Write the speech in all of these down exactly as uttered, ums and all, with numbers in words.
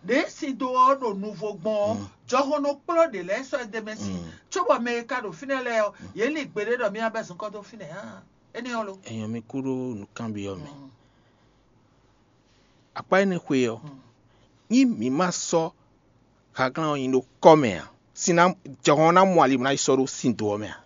ɖě sin dó ɔ́ ɖo nuvo gbɔn ɔ́, jɔhɔn nɔ kplɔ́ ɖě lɛ́ɛ sɔ́ ɛ d'é mɛ sí, cóbɔ mɛ e ka ɖo fínɛ́ lɛ́ɛ ɔ́, yě lin gbeɖé ɖɔ mì wá bɛ́ zunkɔ́ dó fínɛ́ ǎ. Énɛ́ ɔ́ lo? Èèyàn mi kú ɖó nǔkanbyɔ́ mɛ. Akpá énɛ́ xwe ɔ́, nyí mǐ ma sɔ́ haglán ɔ́ nyi ɖó kɔ́ mɛ ǎ, sin ná jɔhɔn ná mɔ ali bó ná yi sɔ́ ɖó sin do ɔ́ mɛ ǎ.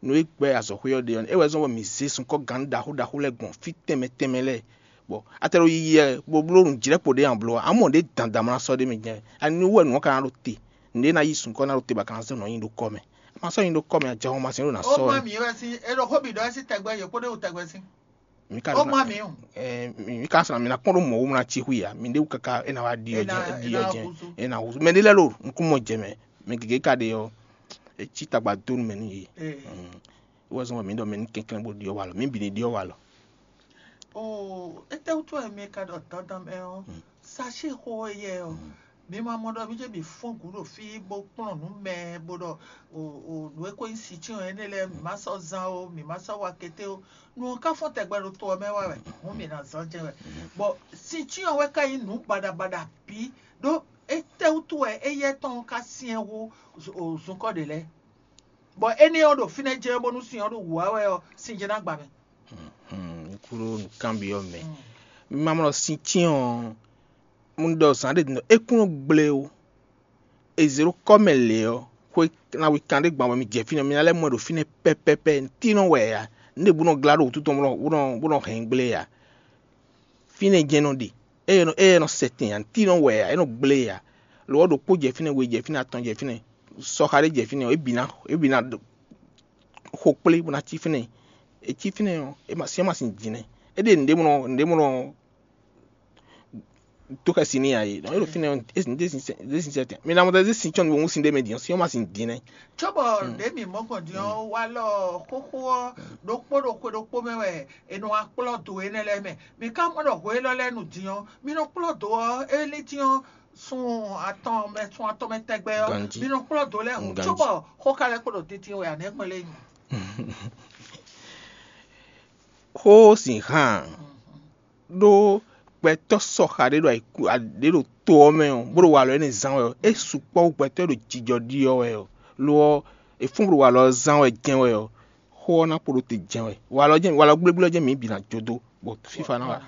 Nǔ e gbɛ́ azɔ̌xwé ɔ́ ɖe ɔ́, é wɛ zɔ́n bɔ mǐ zé sunkɔ́ gǎn ɖaxó ɖaxó lɛ́ɛ gbɔn fí tɛnmɛ tɛnmɛ lɛ́ɛ, bɔ a tɛ ɖo yiyi wɛ bó bló nǔ jlɛ́kpo ɖé ǎ bló ǎ, amɔ̌ ɖě dandan ma ná sɔ́ ɖ'é mɛ jɛ́n. Ani nú wɛ nǔ ɔ́ ka ná ɖo te, nǔɖé ná yí sunkɔ́ ná ɖo te bɔ a ka ná zɔ́ nǔ ɔ́ nyi ɖó kɔ́ mɛ. A ma sɔ́ nyi ɖó kɔ́ mɛ ǎ, jɔhɔn ma sin ɖo ná Ó sɔ́ má wɛ. Mǐ wɛ sín, é ɖo xó bǐ ɖɔ wɛ sín tɛgbɛ, yě kpódó wú tɛgbɛ sín. Mǐ ka Ó ɖo má ná- mǐ o. Ɛɛ, mǐ mǐ ka sɔ́ ná mǐ ná kpɔ́n ɖó mɔ̌ wú ná cí xwí ǎ, mǐ ɖé wú káká é ná wá ɖi ɔ́ È ná- jɛ́n, é ná ɖi ɔ́ jɛ́n, húzú. É ná húzú. Mɛ ɖé lɛ́ɛ ɖo nukúnmɔ jɛ mɛ, mɛ gěgé ka ɖe ɔ́, é cí tagba dó nú mɛ nú yě. Ee. Mm. É wɛ zɔ́n bɔ mǐ ɖɔ mɛ ní kɛnklɛ́n bó ɖyɔ́ walɔ, mǐ bǐ ní ɖyɔ́ walɔ. Oo, étɛ́wútu wɛ mi ka ɖɔ dandan mɛ ɔ́? Sachet xó éyɛ́ ɔ́, mi ma mɔ ɖɔ mi jɛ mi fɔ́n gǔ ɖo fí bó kplɔ́n nǔ mɛ bó ɖɔ o o nǔ e ko nyí sicyɔn énɛ́ lɛ́ɛ mi ma sɔ́ zán ó, mi ma sɔ́ wa kété ó. Nǔ ɔ́ ka fɔ́n tɛgbɛ ɖo to ɔ́ mɛ wá wɛ, hǔn mi ná zán jɛ́n wɛ. Bɔ sicyɔn wɛ ka nyí nǔ baɖabaɖa bǐ ɖó étɛ́wútu wɛ éyɛ́ tɔn ka syɛ́n hú zunkɔ́ ɖě lɛ́ɛ? Bɔ énɛ́ ɔ́ ɖo fínɛ́ jɛ́n bónú sin ɔ́ ɖo wǔ wá wɛ ɔ́, sin jɛ́n ná gba mɛ. Kúɖó nǔkanbyɔ́ mɛ. Mi ma mlɔ sin cyɔ́n ɔ́, un ɖɔ zǎn ɖě din ɖɔ é kún nɔ gblé ó. È zě ɖó kɔ́ mɛ lě ɔ́, xwe ná wi kan ɖé gban bɔ mi jɛ fínɛ́, mi ná lɛ́ mɔ ɛ ɖo fínɛ́ pɛ́pɛ́pɛ́, nǔtínɔ wɛ ǎ. Nǔ ɖě bú nɔ glá ɖo wútu tɔn bó nɔ bó nɔ hɛn gblé ǎ. Fínɛ́ jɛ́n nɔ ɖe. Ée nɔ ée nɔ sɛ tɛn ǎ, nǔtínɔ wɛ ǎ, é nɔ gblé ǎ. Lo ɔ́ ɖokpó jɛ fínɛ́, we jɛ fínɛ́, atɔn jɛ fínɛ́, sɔxa ɖé jɛ fínɛ́ ɔ́, é bǐ ná é bǐ ná xo kplé bó ná cí fínɛ́. É cí fínɛ́ ɔ́, é ma sin é ma sin jǐnɛ. É ɖe nǔɖé mɔ nǔɖé mɔ tó xɛsi n'i ǎ é. Nɔ é ɖo fínɛ́ ɔ́, é sin é sin é sin sɛtɛn. Mi ná mɔ tɛ́ sin tsɔ́n mi wún sin ɖé mɛ din ɔ́, sin ɔ́ ma sin din nɛ́. Cóbɔ ɖě mǐ mɔ gbɔn din ɔ́, walɔ xóxó ɔ́ ɖokpó ɖo xwe ɖokpó mɛ wɛ è nɔ wá kplɔ́ do énɛ́ lɛ́ɛ mɛ. Mi ka mɔ ɖɔ hwe élɔ́ lɛ́ɛ nu din ɔ́, mi nɔ kplɔ́ do ɔ́, é lín din ɔ́, sun atɔn mɛ sun atɔn mɛ tɛgbɛ ɔ́, Ganjí. Mi nɔ kplɔ́ do lɛ́ɛ hǔn, Ganjí. Cóbɔ xó ka lɛ́ kpo ɖo titi wɛ ǎ nɛ́ kpɔ́n lé nyi. Xó sin hán ɖó gbɛtɔ́ sɔxa ɖé ɖo ayǐkú ɖě ɖo to ɔ́ mɛ ɔ́, bó ɖo walɔ énɛ́ zán wɛ ɔ́, é sukpɔ́ wú gbɛtɔ́ e ɖo jijɔ ɖi ɔ́ wɛ ɔ́, lo ɔ́, è fún bó ɖo walɔ ɔ́ zán wɛ jɛ́n wɛ ɔ́, xó ɔ́ ná kpo ɖó te jɛ́n wɛ. Walɔ jɛ́n walɔ gblégblé ɔ́ jɛ́n mǐ bǐ ná jó dó, bɔ fífa ná wa.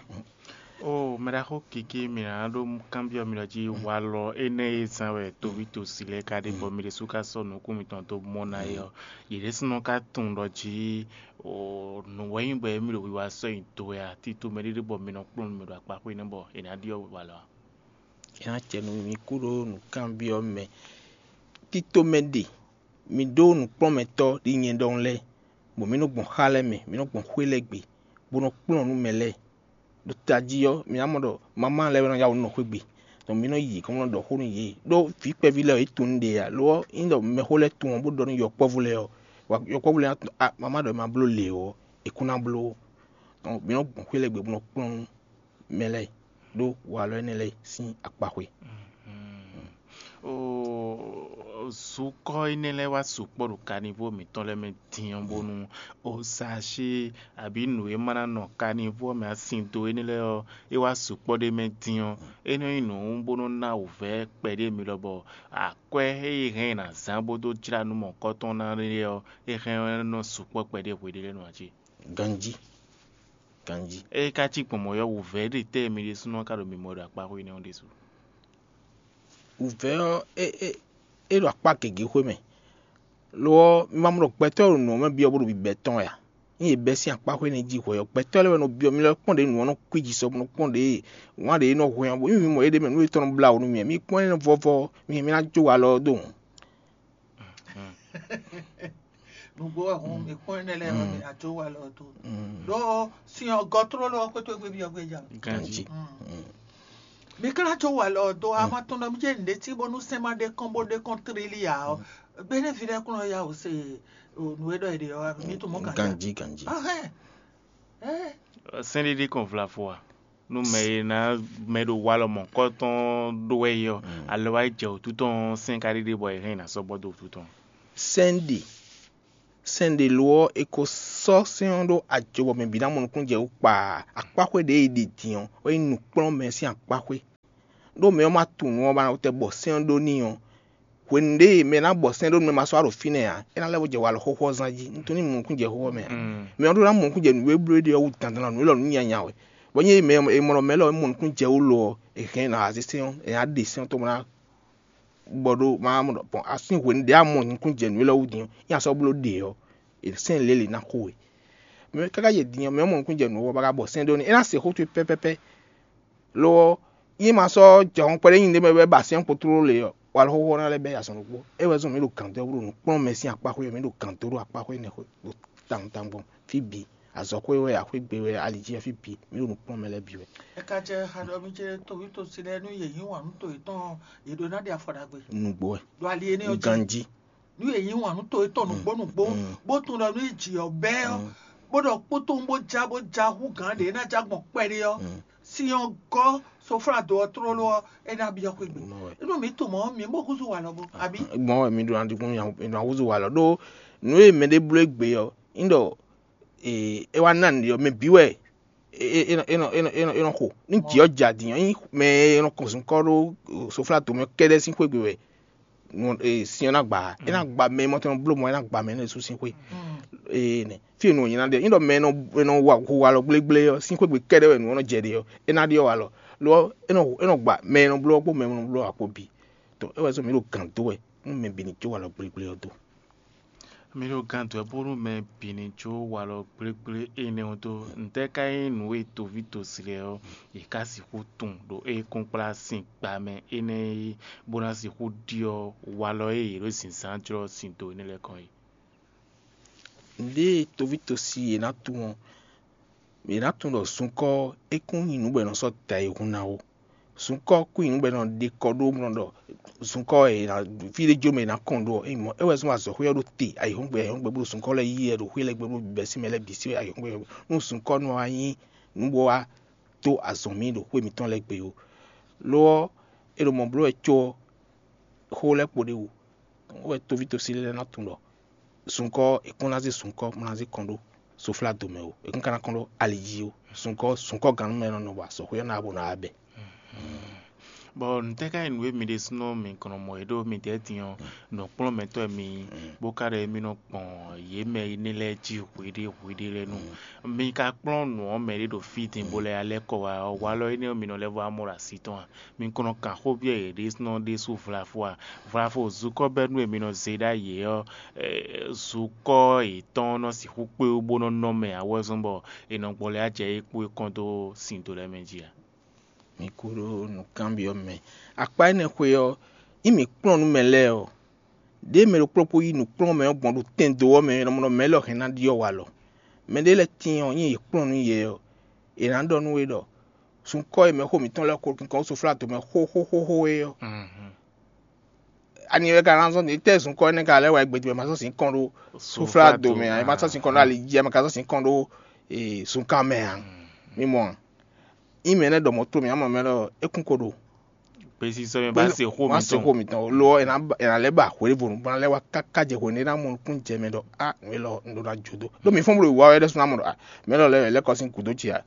Ó mɛɖaxó Kiki, mi ná ɖó kanbyɔ́ mi ɖɔ jí walɔ énɛ́ e zán wɛ toví tosi lɛ́ɛ ka ɖe bɔ mi ɖésú ka sɔ́ nukún mitɔn dó mɔ ná é ɔ́, yě ɖésúnɔ ka tunwun ɖɔ jí nǔ wɛ nyí bɔ émí ɖo wiwa sɔ́ nyi do wɛ a? Tito mɛ ɖé ɖé bɔ mi nɔ kplɔ́n nú mɛ ɖo akpaxwé nɛ́ bɔ è nǎ ɖyɔ́ walɔ a? É ná acɛ nú mi kú ɖó nǔkanbyɔ́ mɛ. Tito mɛ ɖe, mi ɖó nǔkplɔ́nmɛtɔ́ ɖi nyɛ ɖɔhun lɛ́ɛ, bɔ mǐ nɔ gbɔn xá lɛ́ɛ mɛ, mǐ nɔ gbɔn xwé lɛ́ɛ gbe, bó nɔ kplɔ́n nú mɛ lɛ́ɛ. Ɖo tají ɔ́, mǐ ná mɔ ɖɔ mamá lɛ́ɛ wɛ nɔ yá wǔ nɔ xwé gbe, ɖɔ mǐ nɔ yi gɔ̌n bó nɔ ɖɔ xó nú yě. Ɖó vǐ kpɛví lɛ́ɛ ɔ́, yě tunwun ɖe ǎ; lo ɔ́, ényí ɖɔ mɛxó lɛ́ɛ tunwun ɔ́, bó ɖɔ nú yɔkpɔ́vú lɛ́ɛ ɔ́, wa- yɔkpɔ́vú lɛ́ɛ ná tunwun, a mamá ɖɔ è ma bló le ɔ́, è kún ná bló. Tɔn mǐ nɔ gbɔn xwé lɛ́ɛ gbe bó nɔ kplɔ́n nú mɛ lɛ́ɛ ɖó walɔ énɛ́ lɛ́ɛ sín akpaxwé. Zukɔ́ énɛ́ lɛ́ɛ wá sukpɔ́ ɖo kanivó mǐtɔn lɛ́ɛ mɛ din ɔ́, bónú osashi abǐ nǔ e ma ná nɔ kanivó ɔ́ mɛ asin dó énɛ́ lɛ́ɛ ɔ́, é wá sukpɔ́ ɖ'é mɛ din ɔ́, é nɔ nyí nǔ bó nɔ́ ná wǔvɛ́ kpɛɖé mi lɔ bɔ akwɛ́ e è hɛn ɛ ná zán bó dó jlá nú mɔ̌kɔ́tɔn ná é ɔ́, é hɛn ɔ́ nɔ sukpɔ́ kpɛɖé hweɖé lɛ́ɛ nɔ ǎ cé? Ganjí. Ganjí. Ée ka cí gbɔn mɔ̌ ɔ́, wǔvɛ́ ɖe tɛ́ mi ɖésúnɔ ka ɖo mimɔ ɖo akpaxwé énɛ́ ɔ́ ɖésú? Wǔvɛ́ ɔ́, é é é ɖo akpá gěgé xwé mɛ. Lo ɔ́, mi ma mɔ ɖɔ gbɛtɔ́ e ɖo nǔ ɔ́ mɛ byɔ́ bó ɖo bǐbɛ́ tɔn wɛ a? Ényí è bɛ́ sín akpaxwé énɛ́ jí hwɛ ɔ́, gbɛtɔ́ lɛ́ɛ wɛ nɔ byɔ́ mi lɛ́ kpɔ́n ɖě nǔ ɔ́ nɔ kwíji sɔ bó nɔ kpɔ́n ɖě wǎn ɖě nɔ hwɛ́n ɔ́, bó nyí mi mɔ yě ɖ'é mɛ nǔ e tɔn nɔ blá wǔ nú mi ǎ. Mi kpɔ́n énɛ́ vɔ́vɔ́ ɔ́, mi mi ná jó walɔ ɔ́ dó hǔn. Nǔgbó wɛ hɔn mi kpɔ́n énɛ́ lɛ́ɛ ɔ́, mi ná jó walɔ ɔ́ dó. Ɖó sin ɔ́ gɔ́ tlóló ɔ́ xwétó gbé byɔ́ gbé jà. Ganjí. Mi ka ná jó walɔ ɔ́ dó, a ma tunwun ɖɔ mi jɛ nǔɖé cí bónú sɛ́n ma ɖe kɔn bó ɖe kɔn tlílí ǎ ɔ́, gbɛ́nɛ́ ví lɛ́ɛ kún nɔ yá wǔ se nǔ e ɖɔ è ɖe ɔ́, mi tunwun mɔ̌ ganjí. Ganjí, ganjí. Ahɛn. Sɛ́n ɖé ɖi kɔn vlavo a? Nú mɛ e ná mɛ ɖo walɔ mɔ̌kɔ́tɔn ɖó wɛ é ɔ́, alɔ wá yi jɛ wǔtu tɔn sɛ́n ka ɖiɖe bɔ è hɛn ná sɔ́ bɔ dó wǔtu tɔn. Sɛ́n ɖe sɛ́n ɖe lo ɔ́, è ko sɔ́ sɛ́n ɔ́ ɖó ajo bɔ mɛ bǐ ná mɔ nukúnnú jɛ wú kpaa. Akpáxwé ɖě e è ɖe din ɔ́, é nyí nǔkplɔ́nmɛ sín akpáxwé. ɖó mɛ ɔ́ ma tunwun nǔ ɔ́ ba ná tɛ bɔ sɛ́n ɔ́ ɖó n'i ɔ́, hwenu ɖé mɛ ná bɔ sɛ́n ɖó nú mɛ ma sɔ́ ɖo fínɛ́ ǎ, é ná lɛ́ bó jɛ walɔ xóxó ɔ́ zán jí. Un tunwun ní mɔ nukúnjɛ xóxó mɛ ǎ. Mɛ ɔ́ ɖó ná mɔ nukúnjɛ nǔ e bló éɖée ɔ́ wú dandan nǔ élɔ́ nǔ nyanya wɛ. Bɔ nyí mɛ e mɔ ɖɔ mɛ élɔ́ mɔ nukúnjɛ wú lo ɔ́, è hɛn ɛ ná wá zé sɛ́n ɔ́, è nǎ ɖe sɛ́n ɔ́ tó bó ná bɔ ɖó ma mɔ ɖɔ bɔn asín hwenu ɖě a mɔ nukúnjɛ nǔ élɔ́ wú din ɔ́, nyí a sɔ́ bló ɖe ɔ́, è sɛ́n lě lě ná xo we. Mɛ káká yě din ɔ́, mɛ ɔ́ mɔ nukúnjɛ nǔ ɔ́, bɔ ka bɔ sɛ́n ɖó n'i, é ná se xó towe pɛ́pɛ́pɛ́. Lo ɔ́, nyí ma sɔ́ jɛ hɔn kpɛɖé nyi ɖé mɛ wɛ ba sɛ́n kpo tlóló lě ɔ́, walɔ xóxó ná lɛ́ bɛ́ azɔn ɖokpó. É wɛ zɔn mǐ ɖo gǎn dó bó ɖo nǔ kplɔ́n mɛ sín akpá xwé ɔ́, mǐ ɖo gǎn dó ɖo akpá xwé énɛ́ xwé ɖo tawun tawun gbɔn fí bǐ. Azɔ̌xwé wɛ, axwé gbe wɛ, ali jí wɛ, fí bǐ mǐ ɖo nǔ kplɔ́n mɛ lɛ́ɛ bǐ wɛ. È ka jɛ xa ɖɔ mì ce toví tosí lɛ́ɛ nú yě nyí wǎn nú to yětɔn ɔ́, yě ɖó ná ɖi afɔ ɖagbe. Nǔgbó wɛ. Ɖo ali énɛ́ ɔ́ jí. Ganjí. Nú yě nyí wǎn nú to yětɔn nǔgbó nǔgbó, bó tunwun ɖɔ nú jǐ ɔ́ bɛ́ ɔ́, bó ɖɔ kpótó bó já bó já hú gǎn ɖě ná já gbɔn kpɛɖé ɔ́, sin ɔ́ gɔ́ soflado ɔ́ tlóló ɔ́, é ná byɔ́ xwé gbe. Nú mǐ tunwun mɔ̌, mǐ mɔ húzú walɔ bó, abǐ? Gbɔn wɛ mi ɖo ná ɖi kún mi ɖo ná húzú walɔ ɖó nǔ e mɛɖé bló égbé ɔ́, nyí ɖɔ é wá ná nǔɖé ɔ́, mɛ bǐ wɛ é nɔ xo. Ní jǐ ɔ́ ja din ɔ́, nyí mɛ e nɔ kɔn zunkɔ́ ɖó soflá tomɛ kɛ́ɖɛ́ sín xwé gbe wɛ sin ɔ́ ná gba ǎ. É ná gba mɛ e mɔ tɛn nɔ bló mɔ é ná gba mɛ énɛ́ sú sín xwé. Énɛ́ fí e nǔ ɔ́ nyí ná ɖe nyí ɖɔ mɛ e nɔ wa hu walɔ gblégblé ɔ́ sín xwé gbe kɛ́ɖɛ́ wɛ nǔ ɔ́ nɔ jɛ ɖe ɔ́, é ná ɖyɔ́ walɔ. Lo ɔ́, é nɔ gba mɛ e nɔ bló ɔ́ kpó mɛ e nɔ bló ǎ kpó bǐ. Tɔ é wɛ zɔ́n mǐ ɖo gǎn dó wɛ nú mɛ bǐ ní jó walɔ gblégblé ɔ́ dó. Mi ɖo gán dɔ̌ bónú mɛ bǐ ní jó walɔ gblégblé énɛ́ ɔ́ dó. Ntɛ́ ka nyí nǔ e toví tosi lɛ́ɛ ɔ́, yě ká sixú tunwun ɖo é kúnkplá sin gba mɛ énɛ́ é, bó ná sixú ɖyɔ́ walɔ e yě ɖo zǐnzán jlɔ́ sin dó énɛ́ lɛ́ɛ kɔn é? Nǔɖé e toví tosi yě ná tunwun ɔ́, yě ná tunwun ɖɔ zunkɔ́ ɔ́, é kún nyí nǔ bɔ è nɔ sɔ́ da ayihún ná ó. Zunkɔ́ kún nyí nǔ bɔ è nɔ ɖe kɔ ɖó mɔ ɖɔ zunkɔ́ e è nǎ fí ɖé jó mɛ è nǎ kɔn ɖó ɔ́, é nyí mɔ̌ é wɛ zɔ́n azɔ̌xwé ɔ́ ɖo te ayihúngbɛ ayihúngbɛ bó ɖo zunkɔ́ lɛ́ɛ yí wɛ ɖo xwé lɛ́ɛ gbe bó bɛ́ sín mɛ lɛ́ɛ bǐ sí wɛ ayihúngbɛ. Nú zunkɔ́ nɔ wá nyí nǔ bó wá dó azɔn mǐ ɖo xwé mǐtɔn lɛ́ɛ gbe ó. Lo ɔ́, è ɖo mɔ̌ bló wɛ có ɔ́, xó lɛ́ɛ kpo ɖ'é wú. Wɛ toví tosí lɛ́ɛ ná tunwun ɖɔ zunkɔ́ è kún ná zé zunkɔ́ bó ná zé kɔn ɖó soflá do mɛ ó, è kún ka ná kɔn ɖó ali jí ó. Zunkɔ́ zunkɔ́ gannú mɛ nɔ nɔ bɔ azɔ̌xwé ɔ́ ná bo ná wá bɛ. Bɔ ntɛ́ ká nyí nǔ e mi ɖésúnɔ mi kɔn nɔ mɔ é ɖó midɛɛ din ɔ́, nǔkplɔ́nmɛtɔ́ e mi nyí, bó ka ɖɔ émí nɔ gbɔn yě mɛ énɛ́ lɛ́ɛ jí hweɖé hweɖé lɛ́ɛ nu. Mi ka kplɔ́n nǔ ɔ́ mɛ ɖé ɖo fí din bó lɛ́ alɛ́ kɔ wá ɔ́, walɔ énɛ́ ɔ́ mi nɔ lɛ́ vɔ amɔ ɖo así tɔn a? Mi kɔn nɔ kan xó byɔ́ yě ɖésúnɔ ɖésú vlafó a? Vlafó zukɔ́ bɛ́ nú e mi nɔ zé ɖ'ayǐ é ɔ́, zukɔ́ yětɔn nɔ sixú kpé wú bó nɔ́ nɔ mɛ ǎ wɛ zɔ́n bɔ è nɔ gbɔ lɛ́ acɛ é kpó é kɔn dó sin do lɛ́ɛ mɛ jí a? Mi kú ɖó nǔkanbyɔ́ mɛ. Akpá énɛ́ xwé ɔ́, nyí mǐ kplɔ́n nú mɛ lɛ́ɛ ɔ́, ɖěe mɛ ɖokpó ɖokpó yí nǔkplɔ́nmɛ ɔ́ gbɔn ɖo tɛn do ɔ́ mɛ, è nɔ mɔ ɖɔ mɛ élɔ́ hɛn ná ɖyɔ́ walɔ. Mɛɖé lɛ́ɛ tíin ɔ́, nyí yě kplɔ́n nú yě ɔ́, è nǎ ɖɔ nú we ɖɔ: sunkɔ́ e mɛxó mǐtɔn lɛ́ɛ ko kinkɔn wú soflá do mɛ xóxóxóxó é ɔ́, ani wɛ ka ná zɔ́n din? Tɛ́ zunkɔ́ énɛ́ ka lɛ́ wá gbé din wɛ ma sɔ́ sin kɔn ɖó soflá do mɛ ǎ, ma sɔ́ sin kɔn ɖó ali jí ǎ, ma ka sɔ́ sin kɔn ɖó zunkan mɛ ǎ? Mi mɔ a? Nyí mɛ énɛ́ ɖɔ mɔ̌ tló mǐ, amɔ mɛ lɔ é kún ko ɖo gbesisɔ mɛ ba se xó ma se xó mitɔn. Mitɔn lo ɔ́, è nǎ lɛ́ ba hwěvo nǔ bó ná lɛ́ wá káká jɛ hwenu e é ná mɔ nukún jɛ mɛ ɖɔ á nǔ élɔ́ un ɖó ná jó dó. Ɖó mi fɔ́n bó ɖo wǐwá wɛ ɖɛ́ sú ná mɔ ɖɔ á mɛ élɔ́ lɛ́ wɛ lɛ́ kɔ sín gǔdo ce a?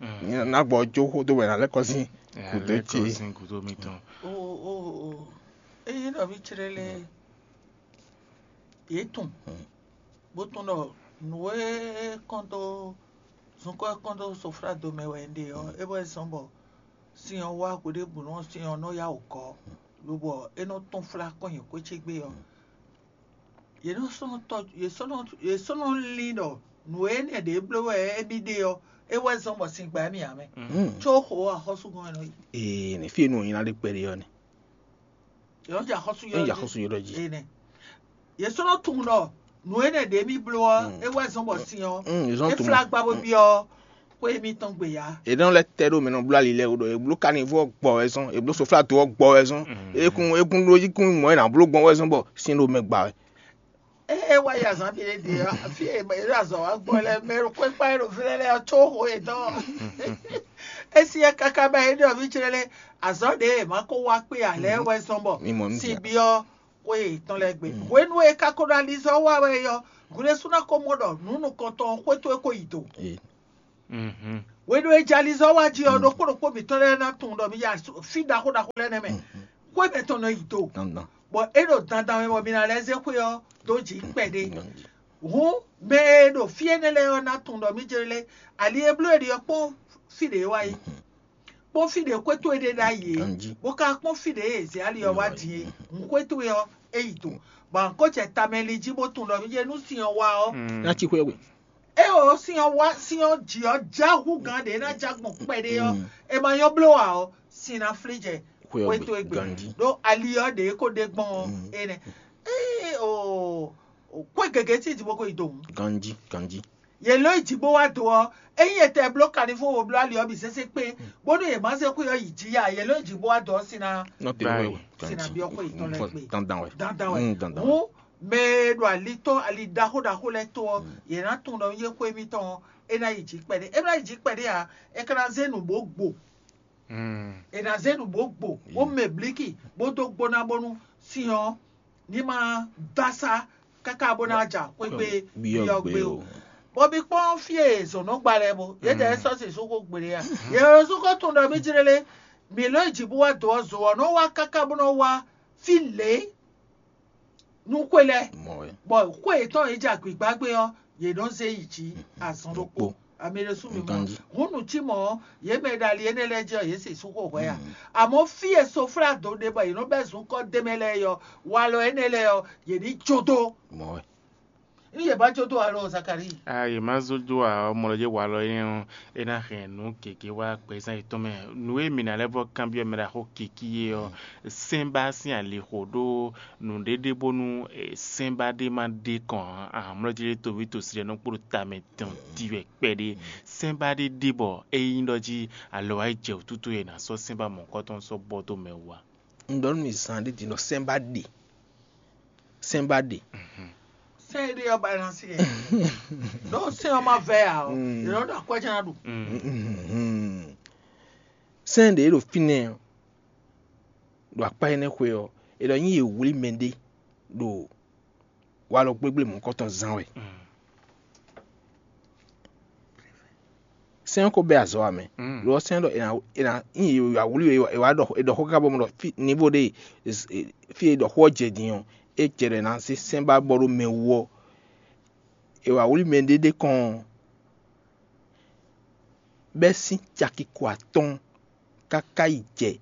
Ná gbɔ jó xó dó wɛ ná lɛ́ kɔ sín gǔdo ce. Sin gǔdo mitɔn. O o o eye nɔví clé lé yě tunwun bó tunwun ɖɔ nǔ e kɔn dó zunkɔ́ e kɔn dó soflá do mɛ wɛ un ɖe ɔ́, é wɛ zɔ́n bɔ sin ɔ́ wá hweɖěbǔnu ɔ́, sin ɔ́ nɔ yá wǔ gɔ́, lobɔ é nɔ tɔ́n flá kɔn nyi xwé ce gbe ɔ́, yě nɔ sɔ́ nɔ tɔ́ yě sɔ́ nɔ yě sɔ́ nɔ lin ɖɔ nǔ énɛ́ ɖě bló wɛ émí ɖe ɔ́, é wɛ zɔ́n bɔ sin gbá émí ǎ mɛ. Có xo axɔ́súgɔ́n e nɔ yi. Ee, ne fí e nú wò nyi ná ɖe kpɛɖé ɔ́ nɛ. Yě nɔ jɛ axɔ́sú Yě nɔ jɛ axɔ́sú yɔ́ɖɔ jí. Ene. Yě sɔ́ nɔ tunwun ɖɔ nǔ énɛ́ ɖě mì bló ɔ́, é wɛ zɔ́n bɔ sin ɔ́, Mm, yě zɔ́n é tunwun. Flá gbá bó byɔ́ xwé émítɔn gbe ya. È nɔ lɛ́ tɛ ɖó mɛ nɔ bló ali lɛ́ɛ wú ɖɔ è bló kanivú ɔ́ gbɔ wɛ zɔ́n, è bló soflá do ɔ́ gbɔ wɛ zɔ́n. Ekun ekun ɖó jí kún mɔ è nǎ bló gbɔn wɛ zɔ́n bɔ sin ɖo mɛ gba wɛ. Ée é wá yi azǎn ɖé ɖe ɔ́, fí e è ɖo azɔ̌ wa gbɔn lɛ́ɛ, mɛ e ɖo xwé kpá é ɖo fínɛ́ lɛ́ɛ ɔ́ có xo yětɔn. É syɛ́n káká bɔ é ɖɔ mì clé lé, azɔ̌ ɖě e è ma ko wá kpé ǎ lɛ́ɛ wɛ zɔ́n bɔ Mi mɔ nú sin sia. Byɔ́ xwé yětɔn lɛ́ɛ gbe. Hwenu e è ka ko ɖo alizɔ́ wa wɛ é ɔ́, hwlɛ́sú ná ko mɔ ɖɔ nǔ nukɔntɔn ɔ́ xwé towe ko yi do. Ee. Mhm. Hwenu e jɛ alizɔ́ wá jí ɔ́, ɖokpó ɖokpó mǐtɔn lɛ́ɛ ná tunwun ɖɔ mi yi fí ɖaxó ɖaxó lɛ́ɛ nɛ́ mɛ. Xwé mɛtɔn nɔ yi do, bɔ é ɖo dandan mɛ bɔ mi ná lɛ́ zé xwé ɔ́ dó jǐ kpɛɖé. Hǔn mɛ e ɖo fí énɛ́ lɛ́ɛ ɔ́ ná tunwun ɖɔ mí jlé ali e bló è ɖi ɔ́ kpɔ́n fí ɖě wá yi, kpɔ́n fí ɖě xwé towe ɖé ɖ'ayǐ é, bó ka kpɔ́n fí ɖě e è zě ali ɔ́ wá din é. Hǔn xwé towe ɔ́, é yi do, bɔ a nǎ ko jɛ tamɛ li jí bó tunwun ɖɔ mí jlé nú sin ɔ́ wá ɔ́, ná cí xwé we. É ɔ́, sin ɔ́ wá, sin ɔ́ jǐ ɔ́ já hú gǎn ɖě ná já gbɔn kpɛɖé ɔ́, è ma nyɔ́ bló ǎ ɔ́, sin ná flí jɛ xwé towe gbe. Ɖó ali ɔ́ ɖě ko ɖe gbɔn ɔ́, énɛ́. Ée o xwé gěgé tín jǐ bó ko yi do hǔn. Ganjí, ganjí. Yě lɔ́ yi jǐ bó wá do ɔ́, ényí è tɛ bló kanifó wo bló ali ɔ́ bǐ sésé kpé, bónú yě má zé xwé ɔ́ yi jǐ ya, yě lɔ́ yi jǐ bó wá do ɔ́, sin ná Nɔ te wɛ o. Sin ná byɔ́ xwé yětɔn lɛ́ɛ gbe. Dandan wɛ. Dandan wɛ. Mm, dandan wɛ. Hǔn mɛ e ɖo alitɔ́ ali ɖaxó ɖaxó lɛ́ɛ tó ɔ́, yě ná tunwun ɖɔ yé xwé mitɔn ɔ́, é ná yi jǐ kpɛɖé. É ná yi jǐ kpɛɖé ǎ, é ka ná zé nǔ bó gbo. È nǎ zé nǔ bó gbo, bó mɛ blíkì, bó dó gbóná bónú sin ɔ́ ní ma dó asá káká bó ná ja xwé gbe byɔ́ gbe o. Bɔ mi kpɔ́n fí e zɔ̌n nɔ gba lɛ́ɛ bó, yědɛɛ sɔ́ sixú xó gbeɖé a? Yě sixú tunwun ɖɔ mí jlé lé, mǐ lɔ́ yi jǐ bó wá dǒ ɔ́, zo ɔ́ nɔ wá káká bó nɔ wá fí lě nú xwé lɛ́ɛ, bɔ xwé yětɔn e jɛ agbǐgbá gbé ɔ́, yě nɔ zé yi jǐ azɔn ɖokpó. Amɛ ɖésú mi mɔ. Hǔn nǔ cí mɔ̌ ɔ́, yě mɛ e ɖo ali énɛ́ lɛ́ɛ jí ɔ́, yě sixú xo hwɛ ǎ. Amɔ̌ fí e soflá dǒ ɖe bɔ yě nɔ bɛ́ zunkɔ́ d'é mɛ lɛ́ɛ é ɔ́, walɔ énɛ́ lɛ́ɛ ɔ́, yě ní jó dó. Nú yě ba jó dó alɔ Zakalíi. A yě má zó dó ǎ ɔ́, mɔ lɔ jɛ walɔ énɛ́ ɔ́, é ná hɛn nǔ gěgé wá gbɛzán yětɔn mɛ. Nǔ e mǐ ná lɛ́ vɔ́ kanbyɔ́ mɛ ɖaxó kikí é ɔ́, sɛ́n ba sín alixo ɖó nǔɖéɖé bónú sɛ́n ba ɖé má ɖe kɔn ǎ. Amlɔ́ jí ɖé toví tosi lɛ́ɛ nɔ kpló tamɛ tɔn ti wɛ kpɛɖé. Sɛ́n ba ɖé ɖe bɔ é nyí ɖɔ jí alɔ wá yi jɛ wǔtútú e è nǎ sɔ́ sɛ́n ba mɔ̌hunkɔtɔn sɔ́ bɔ dó mɛ wú ǎ. Un ɖɔ nú mi zan ɖé din ɖɔ sɛ́n ba ɖe. Sɛ́n ba ɖe. Sɛ́n e ɖe ɔ́ ba ná sí ɛ. Ɖó sɛ́n ɔ́ ma vɛ ǎ ɔ́, yě nɔ ɖo akwɛ́ jɛ́n ná ɖu. Sɛ́n ɖě ɖo fínɛ́ ɔ́, ɖo akpá énɛ́ xwe ɔ́, è ɖɔ nyí yě wlí mɛɖé ɖo walɔ gblégblémɔ̌kɔtɔn zán wɛ. Sɛ́n ɔ́ ko bɛ́ azɔ̌ ǎ mɛ. Lo ɔ́, sɛ́n ɔ́ ɖɔ è nǎ è nǎ nyí yě wá wlí we, è wá ɖɔ è ɖɔ xó káká bɔ mɔ ɖɔ fí nivo ɖé fí e ɖɔ xó ɔ́ jɛ din ɔ́, é jɛ ɖɔ è nǎ zé sɛ́n ba bɔ ɖó mɛ wú ɔ́, è wǎ wlí mɛ ɖé ɖé kɔn ɔ́, bɛ́ sín caki ko atɔ́ɔ́n káká yi jɛ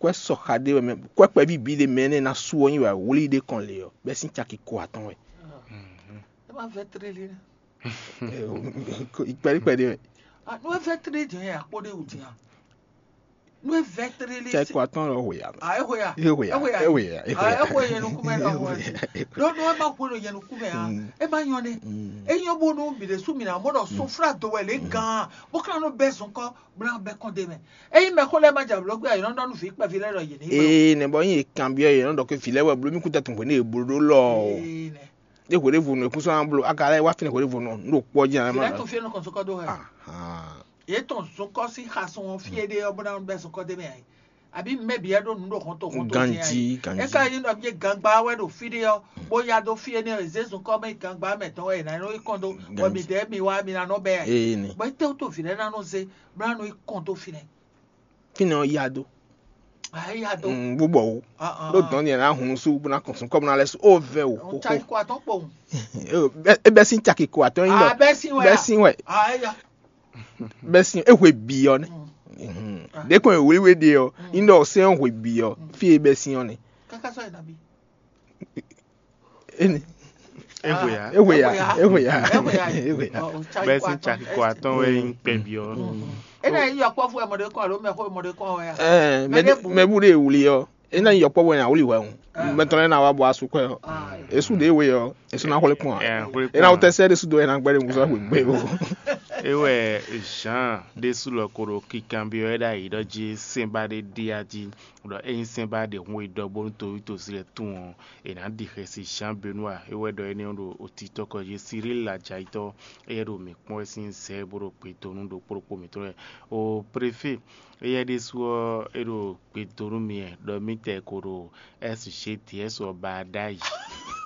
kwɛ́ sɔxa ɖé wɛ mɛ, kwɛ́ kpɛví bǐ ɖé mɛ énɛ́ ná sú ɔ́ nyi wɛ wlí ɖé kɔn lě ɔ́, bɛ́ sín caki ko atɔ́ɔ́n wɛ. É ma vɛ́ tlélí nɛ́. Kpɛɖí kpɛɖí wɛ. Nú é vɛ́ tlélí jɛ́n yɛ akpó ɖé wǔ din a? Nú é vɛ́ tlélí. Caki ko atɔ́ɔ́n lɔ hwe ya. A é hwe ya. É hwe ya. É hwe ya. É hwe ya. A é hwe yɛ nukún mɛ lɔ hwe. Ɖó nú é ma hwe ɖo yɛ nukún mɛ a, é ma nyɔ nɛ. É nyɔ bónú mǐ ɖésú mǐ ná mɔ ɖɔ soflá do wɛ lě gan bó ka nɔ bɛ́ zɔn kɔ bó ná bɛ́ kɔn ɖé mɛ. Ényí mɛxó lɛ́ɛ ma jɛ blǒ gbé ǎ, yě nɔ ɖɔ nú vǐ kpɛví lɛ́ɛ ɖɔ yě ní. Ee, nɛ bɔ nyí è kanbyɔ́ yě nɔ ɖɔ ke vǐ lɛ́ɛ wɛ bló mì kútɛ́ tun hwě ní è bló ɖó lɔ o. Ee, nɛ. Ɖé hwě ɖěvo nǔ e kún sɔ́ ná bló, a ka lɛ́ wá fínɛ́ hwě ɖěvo nɔ, un ɖo kpɔ́ jí ná Vǐ má lɛ́ɛ ɖɔ. Tun fí é nɔ kɔn sɔ́ kɔ dó hɛ. Ahan. Yě tɔn zunkɔ́ sín xasun ɔ́ fí é ɖe ɔ́ bó ná bɛ́ zunkɔ́ d'é mɛ ǎ. Àbí mɛ bǐ wɛ ɖó nǔ ɖo hɔn to hɔn to Ganjí, din ǎ. Ganjí. É ka nyí ɖɔ mì gangba wɛ ɖo fí ɖé ɔ́, bó ya dó fí énɛ́ ɔ́, è zě zunkɔ́ mɛ gangba mɛ tɔn wɛ è nǎ nɔ yi kɔn dó, bɔ Ganjí. Mǐdɛɛ mi wá mi ná nɔ bɛ́ ǎ. Ee, nɛ. Bɔ étɛ́wú to vǐ lɛ́ɛ ná nɔ zé bó ná nɔ yi kɔn dó fínɛ́? Fínɛ́ ɔ́ yá dó. Ǎ, é yá dó. Mm, bó bɔ wú. Ah, ah, Ɖó ah. Dɔn ni ná hun sú bó ná kɔn sun kɔ́ bó ná lɛ́ sú ó vɛ wò. Ó xóxó. Caki ko atɔ́ɔ́n kpowun. É bɛ́- é bɛ́ sín caki ko atɔ́ɔ́n nyí Ah, ɖɔ. Bɛ́ sín wɛ. Bɛ́ a? Sín wɛ. Ah, é yá. Bɛ́ sín é hwe bǐ ɔ́ nɛ. Mm. Mhm. Ah. Ɖě kɔn e wlí we ɖe ɔ́, Mm. nyí ɖɔ sɛ́n ɔ́ hwe bǐ ɔ́, Mm. fí e bɛ́ sín ɔ́ nɛ. Kaka sɔ yina bi. Énɛ́. Éhwe ya. Éhwe ya. Éhwe ya. Éhwe ya. Éhwe ya. Bɛ́ sín caki ko atɔ́ɔ́n wɛ nyí kpɛví ɔ́. Énɛ́ yí yɔkpɔ́vú ɛ mɔɖé kɔn alo mɛxó ɛ mɔɖé kɔn wɛ ya? Ɛɛ, Mɛ ɖé bu. Mɛ bu ɖe wuli ɔ́. Énɛ́ yɔkpɔ́vú ɛ na wuli wɛ o. Mɛ tɔn lɛ na wa bɔ asu kɔɛ ɔ. Esu ɖe we ɔ. Esu na xɔlɛ kpɔn. Ɛ, xɔlɛ Ena kpɔn. Wotɛ sɛ ɖe su do ɛ na gbɛ ɖe musa xwe gbe o. Ewɛ Jean ɖésú lɔ ko ɖo kikanbyɔ́ ɛ ɖ'ayǐ ɖɔ jí sɛ́nba ɖé ɖíe a jí ɖɔ ényí sɛ́nba ɖe hun e ɖɔ bónú toví tosi lɛ́ɛ tunwun ɔ́, è nǎ ɖi xɛsi Jean Benoit é wɛ ɖɔ énɛ́ ɔ́ ɖo otitɔ́ kɔ jí Cyril Ladjayitɔ́ éyɛ́ ɖo mǐ kpɔ́n wɛ sín zɛ bó ɖo gbe dó nú ɖokpó ɖokpó mǐtɔn wɛ. O préfé éyɛ́ ɖésú ɔ́ é ɖo gbe dó nú mì wɛ ɖɔ mǐtɛɛ ko ɖo S G D S ɔ́ ba ɖ'ayǐ.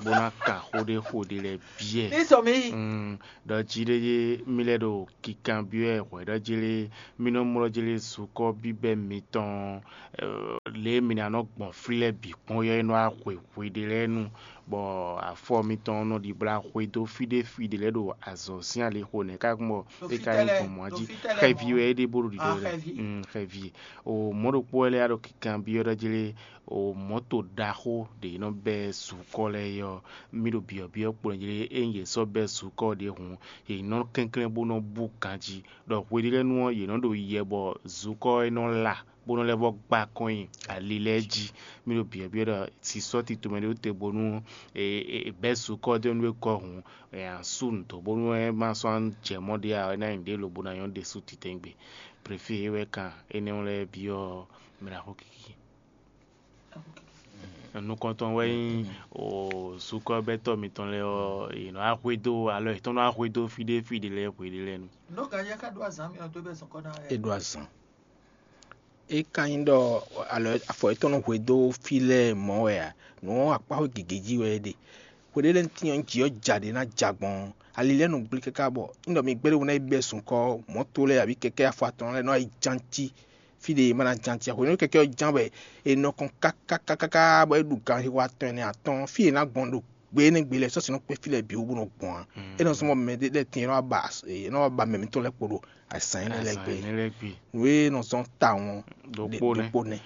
bó ná kan xó ɖé xo ɖé lɛ́ɛ biɛ. Ní sɔ mí. Mm, ɖɔ jí ɖé yé mí lɛ́ ɖo kikanbyɔ́ ɛ hwɛ̌ ɖɔ jélé mí nɔ mlɔ́ jélé sukɔ́ bíbɛ́ mitɔn, lě e mǐ ná nɔ gbɔn fí lɛ́ɛ bǐ kpɔ́n ɔ́ é nɔ wá hwe hweɖé lɛ́ɛ nu, bɔ afɔ mitɔn nɔ ɖibla xwedó fí ɖé fí ɖé lɛ́ɛ ɖo azɔ̌ sín alixo nɛ̌ ká gbɔn é ka nyí gbɔn mɔ̌ jí. Xɛvi wɛ é ɖe bó ɖo ɖiɖɔ lɛ. Xɛvi. Mm, xɛvi. O mɔ̌ ɖokpó wɛ lɛ́ɛ ɖo kikanbyɔ́ ɖɔ jélé o mɔ̌to ɖaxó ɖě nɔ bɛ́ sukɔ́ lɛ́ɛ é ɔ́, mí ɖo byɔ̌byɔ́ kplɔ́n jlé ényí yě sɔ́ bɛ́ sukɔ́ ɖě hǔn, yě nɔ kɛnklɛ́n bó nɔ bú ganjí, ɖɔ hweɖélɛ́nu ɔ́, yě nɔ ɖo yɛ bɔ zukɔ́ ɔ́ é nɔ la, bó nɔ lɛ́ vɔ́ gbá kɔn nyi ali lɛ́ɛ jí. Mí ɖo byɔ̌byɔ́ ɖɔ sisɔ́ tito mɛ ɖé te bónú è bɛ́ sukɔ́ ɔ́ dó nú é kɔ hǔn, è nǎ sú nǔ dó bónú é ma sɔ́ jɛ mɔ̌ ɖé ǎ, é ná nyí nǔɖé lobo ná nyɔ́ ɖésú titɛngbé. Préfé é wɛ kan énɛ́ lɛ́ɛ byɔ́ mɛ ɖaxó kiki. Nukɔntɔn wɛ nyí o sukɔ́bɛ́tɔ́ mitɔn lɛ́ɛ ɔ́, yě nɔ wá hwedó alɔ yětɔn nɔ wá hwedó fí ɖé fí ɖé lɛ́ɛ hweɖé lɛ́ɛ nu. Nɔ́ ganjá ká ɖó azǎn mì ɔ́ dó bɛ́ zɔn kɔ́ ná wɛ. É ɖó azǎn. É ka nyí ɖɔ alɔ afɔ yětɔn nɔ hwedó fí lɛ́ɛ mɔ̌ wɛ a? Nǔ ɔ́ akpáxwé gěgé jí wɛ é ɖe. Hweɖé lɛ́ɛ ntín ɔ́, jǐ ɔ́ ja ɖě ná ja gbɔn ali lɛ́ɛ nɔ gblí káká bɔ un ɖɔ mi gbé ɖé ná yi bɛ́ sunkɔ́ mɔ̌to lɛ́ɛ abǐ kɛkɛ́ afɔ atɔn lɛ́ɛ nɔ yi ján cí fí ɖé e ma ná ján cí ǎ. Hwenu e kɛkɛ́ ɔ́ ján bɔ è nɔ kɔn káká bɔ é ɖu ganxixo atɔn ɛnɛ atɔ́ɔ́n, fí e è nǎ gbɔn ɖo gbe énɛ́ gbe lɛ́ɛ sɔ́ sin nɔ kpé fí lɛ́ɛ bǐ wú bó nɔ gbɔn ǎ. É nɔ zɔ́n bɔ mɛ ɖé lɛ́ɛ tín e nɔ wá ba mɛ mitɔn lɛ́ɛ kpo ɖo azǎn énɛ́ lɛ́ɛ gbe. Nǔ e nɔ zɔ́n tawun ɔ́, ɖokpó nɛ́.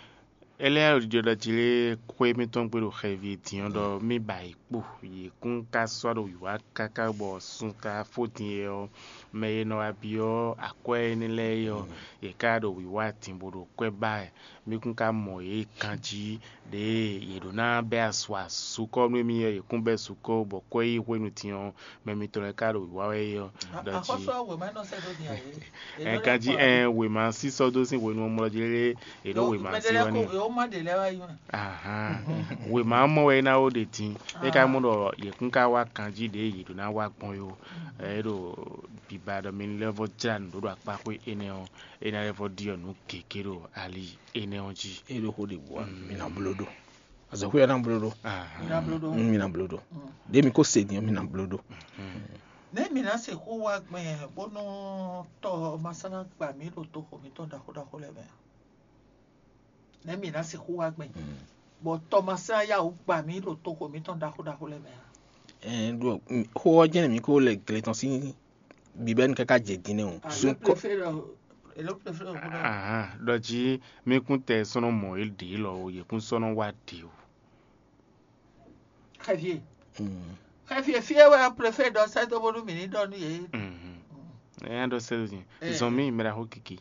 É lɛ́ ɖiɖɔ ɖɔ jí lé xwé mítɔn gbe ɖo xɛvi din ɔ́ ɖɔ mì ba yě kpo, yě kún ka sɔ́ ɖo wǐwá káká bɔ sun ka fó din é ɔ́, mɛ e nɔ wá byɔ́ akwɛ́ énɛ́ lɛ́ɛ é ɔ́, yě ká ɖo wǐwá din bó ɖo kwɛ́ ba wɛ. Mì kún ka mɔ yě ganjí ɖěe yě ɖǒ ná bɛ́ asu asukɔ́ nú émí ɔ́, yě kún bɛ́ sukɔ́ bɔ kwɛ́ yí hwenu din ɔ́, mɛ mitɔn lɛ́ɛ ka ɖo wǐwá wɛ é ɔ́. Ɖɔ jí Axɔ́sú ɔ́, wěma nɔ sɛ́ dó din ǎ é. Ɛ ganjí ɛn wěma sísɔ́ dó sín hwenu ɔ́ mlɔ́ jí lé, è ɖǒ wěma sí wɛ n'i. Yǒ má ɖe lɛ́ɛ wá yi mɛ. Ahan. Wěma mɔ wɛ é ná wó ɖe din. É ka mɔ ɖɔ yě kún ka wá ganjí ɖě yě ɖó ná wá gbɔn yó. Ɛ é ɖo biba ɖɔ mi lɛ́ vɔ jlá nǔ ɖó ɖo akpáxwé énɛ́ ɔ́, é ná lɛ́ vɔ ɖiɔ nǔ gěgé ɖo ali énɛ́ ɔ́ jí. É ɖo xó ɖě bǔ wá, mi ná bló ɖó. Azɔ̌xwé ɔ́ ná bló ɖó. Ahan. Mi ná bló ɖó. Mm, mi ná bló ɖó. Ɖě mi ko se din ɔ́, mi ná bló ɖó. Nɛ̌ mǐ ná sixú wá gbɛn bónú tɔ ma sɔ́ ná gba mǐ ɖo toxo mǐtɔn ɖaxó ɖaxó lɛ́ɛ mɛ a? Nɛ̌ mǐ ná sixú wá gbɛn bɔ tɔ ma sɔ́ ná yá wǔ gba mǐ ɖo toxo mǐtɔn ɖaxó ɖaxó lɛ́ɛ mɛ a? Ɛɛ, ɖo xó ɔ́ jɛ́n mǐ ko lɛ gle tɔn sín bǐbɛ́nu káká jɛ din nɛ́ o. Sun kɔ. Ahan, ɖɔ jí mí kún tɛ sɔ́ nɔ mɔ yě ɖě lɔ o, yě kún sɔ́ nɔ wá ɖě o. Xɛfie. Xɛfie fie wɛ préfet ɖɔ sɛ́ dó bónú mǐ ní ɖɔ nú yě. Ɛ́ ɖɔ sɛ́ dó din. Zɔn mì mɛ ɖaxó kiki.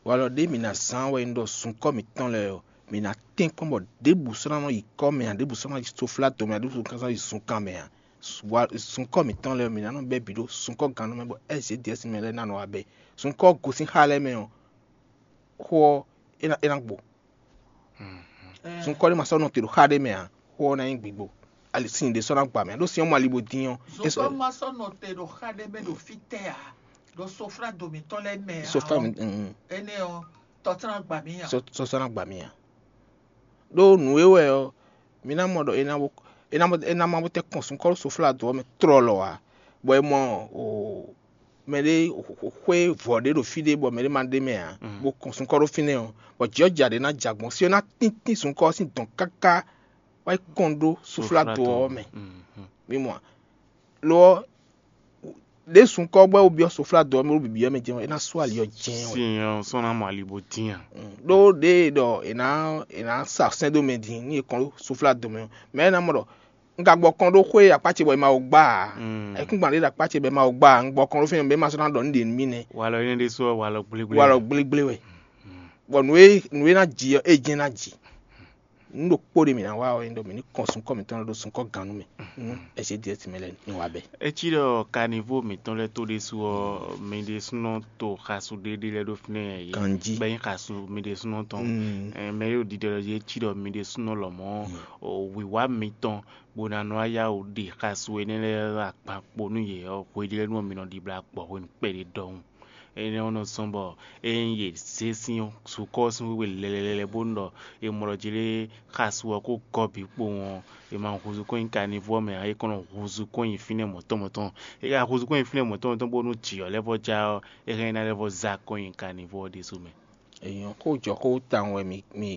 Walɔ ɖé mǐ ná zán wɛ un ɖɔ sunkɔ́ mǐtɔn lɛ́ɛ ɔ́, mǐ ná tɛ́nkpɔ́n bɔ ɖěbǔ sɔ́ ná nɔ yi kɔ́ mɛ ǎ, ɖěbǔ sɔ́ ná yi soflá do mɛ ǎ, ɖěbǔ sɔ́ ná yi zunkan mɛ ǎ. Sunkɔ́ mǐtɔn lɛ́ɛ ɔ́, mǐ ná nɔ bɛ́ bǐ ɖó sunkɔ́ gannú mɛ bɔ S G D S mɛ lɛ́ɛ ná nɔ wá bɛ́. Sunkɔ́ gosín xá lɛ́ɛ mɛ ɔ́, xó ɔ́, é ná é ná gbo. Sunkɔ́ ɖé ma sɔ́ nɔ te ɖo xá ɖé mɛ ǎ, xó ɔ́ ná nyí gbigbo. Ali sin ɖé sɔ́ ná gba mɛ ɖó sin ɔ́ mɔ ali bo dín ɔ́. Zokɔ́ ma sɔ́ nɔ te ɖo xá ɖé mɛ ɖo fítɛ́ ǎ, ɖo soflá do mǐtɔn lɛ́ɛ mɛ ǎ. Soflá mi. Énɛ́ ɔ́, tɔ́tlán gba mì ǎ. Soflá ná gba mì ǎ. Ɖó nǔ e wɛ ɔ́, mi ná mɔ ɖɔ é ná bó é ná bó é ná ma bó tɛ́ kɔn sunkɔ́ ɖó soflá do ɔ́ mɛ tlɔlɔ ǎ, bɔ è mɔ o mɛ ɖé xwé vɔ̌ ɖé ɖo fí ɖé bɔ mɛ ɖé ma ɖ'é mɛ ǎ, bó kɔn sunkɔ́ ɖó fínɛ́ ɔ́, bɔ jǐ ɔ́ ja ɖě ná ja gbɔn, sin ɔ́ ná tíntín sunkɔ́ ɔ́ sín dɔ̌n káká wá yi kɔn ɖó soflá do ɔ́ mɛ. Mi mɔ a? Lo ɔ́, ɖě sunkɔ́ bɔ é wó byɔ́ soflá do ɔ́ mɛ ɖó bǐbí ɔ́ mɛ jɛ́n ɔ́, é ná sú ali ɔ́ jɛ́n wɛ. Sin ɔ́ sɔ́ ná mɔ ali bó dín a? Ɖó ɖěe ɖɔ è nǎ è nǎ sa sɛ́n dó mɛ din nú è kɔn ɖó soflá do mɛ ɔ́, mɛ ɔ́ ná mɔ ɖɔ un ka gbɔ kɔn ɖó xwé akpá ce bɔ è ma wǒ gbá ǎ. Ayǐkúngban ɖé ɖo akpá ce bɔ è ma wó gbá ǎ, un gbɔ kɔn ɖó fínɛ́, mɛ ma sɔ́ ná ɖɔ nǔ ɖě nú mì nɛ́. Walɔ énɛ́ ɖésú ɔ́, walɔ gblígblí. Walɔ gblígblí wɛ. Bɔ nǔ e nǔ e ná ji ɔ́, é jɛ́n ná ji. Nǔ ɖokpó ɖé mǐ ná wa ɔ́, é nyí ɖɔ mǐ ní kɔn sunkɔ́ mǐtɔn lɛ́ɛ ɖó sunkɔ́ gannú mɛ nú S G D S mɛ lɛ́ɛ ní wa bɛ́. É cí ɖɔ kanivo mǐtɔn lɛ́ɛ tó ɖésú ɔ́, mi ɖésúnɔ to xasu ɖé ɖé lɛ́ɛ ɖó fínɛ́ yě Ganjí. Bɛ́ nyí xasu mi ɖésúnɔ tɔn. Ɛ, mɛ yóò ɖiɖɔ ɖɔ yě cí ɖɔ mi ɖésúnɔ lɔmɔ̌ o wǐwá mitɔn bó ná nɔ yá wǔ ɖi xasu énɛ́ lɛ́ɛ akpan kpo nú yě ɔ́, hweɖélɛ́nu ɔ́ mi nɔ ɖibla gbɔ hwenu kpɛɖé ɖɔhun. Énɛ́ ɔ́ nɔ zɔ́n bɔ ényí yě zé sín zukɔ́ ɔ́ sín xwé lɛlɛlɛ bónú ɖɔ è mɔ ɖɔ jí lé xasu ɔ́ kó gɔ́ bǐ kpowun ɔ́, è ma húzú kɔn nyi kanivú ɔ́ mɛ ǎ, é kɔn nɔ húzú kɔn nyi fínɛ́ mɔ̌tɔn mɔ̌tɔn. É ka húzú kɔn nyi fínɛ́ mɔ̌tɔn mɔ̌tɔn bónú jǐ ɔ́ lɛ́ vɔ́ já ɔ́, é hɛn ná lɛ́ vɔ́ zá kɔn nyi kanivú ɔ́ ɖésú mɛ. Èèyàn kó jɔ kó tawun wɛ mi mi